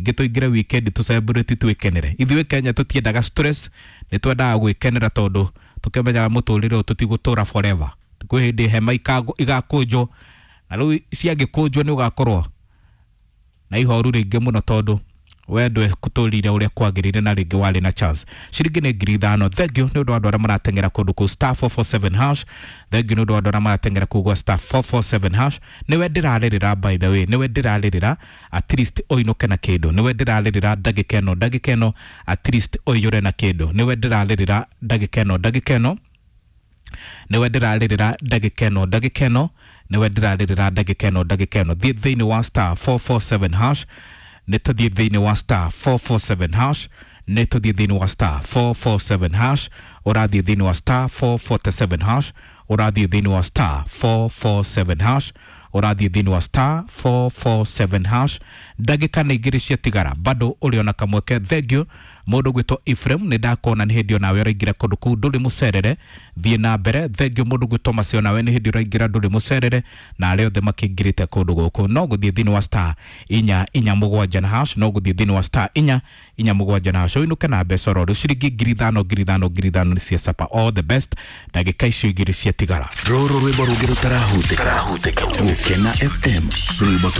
Rĩngĩ tũingĩre weekend tũ celebrate, twĩkenere. Ithuĩ Kenya tũtiendaga stress, nĩ twendaga gwĩkenera tondũ tũkĩmenyaga mũtũrĩre ũyũ tũtigũtũra forever. Kwĩ hĩndĩ hema igakũnjwo, na rĩu ciangĩkũnjwo nĩ ũgakorwo na ihoru rĩingĩ mũno tondũ we ndwetũrire ũrĩa kwagĩrĩire na rĩngĩ warĩ na chance. Ciringi nĩ 5,000. Thank you nĩ ũndũ wa andũ arĩa marateng'era kũndũ kũu *447#. Thank you nĩ ũndũ wa andũ arĩa marateng'era kũu gwa *447#. Nĩwe ndĩrarĩrĩra, by the way, nĩwe ndĩrarĩrĩra, at least ũinũke na kĩndũ. Nĩwe ndĩrarĩrĩra ndagĩka ĩno, ndagĩka ĩno, at least ũiyũre na kĩndũ. Nĩwe ndĩrarĩrĩra ndagĩka ĩno, ndagĩka ĩno. Nĩwe ndĩrarĩrĩra ndagĩka ĩno, ndagĩka ĩno. Nĩwe ndĩrarĩrĩra ndagĩka ĩno, ndagĩka ĩno. Thiĩ thĩinĩ wa *447#. Nĩ tũthiĩ thĩinĩ wa *447#. Nĩ tũthiĩ thĩinĩ wa *447#. Ũrathiĩ thĩinĩ wa *447#. Ũrathiĩ thĩinĩ wa *447#. Ũrathiĩ thĩinĩ wa *447#. Ndagĩka nĩ igĩrĩ ciatigara, bado ũrĩ ona kamweke. Thank you, mũndũ gwĩtwo Ephraim, nĩ ndakona nĩ hĩndĩ onawe ũraingĩra kũndũ kũu, ndũrĩ mũcerere, thiĩ na mbere. Thank you, mũndũ gwĩtwo Macio, nawe nĩ hĩndĩ ũraingĩra, ndũrĩ mũcerere, na arĩa othe makĩingĩrĩte kũndũ gũkũ no gũthiĩ thĩinĩ wa *447#. No gũthiĩ thĩinĩ wa *447# ũinũke na mbeca oro rĩu, ciringi 5,000, 5,000, 5,000 nĩ cia sapa. All the best ndagĩka icio igĩrĩ ciatigara. Rũrũ rwĩmbo rũngĩ rũtarahutĩka. Gũkena FM, rwĩmbo.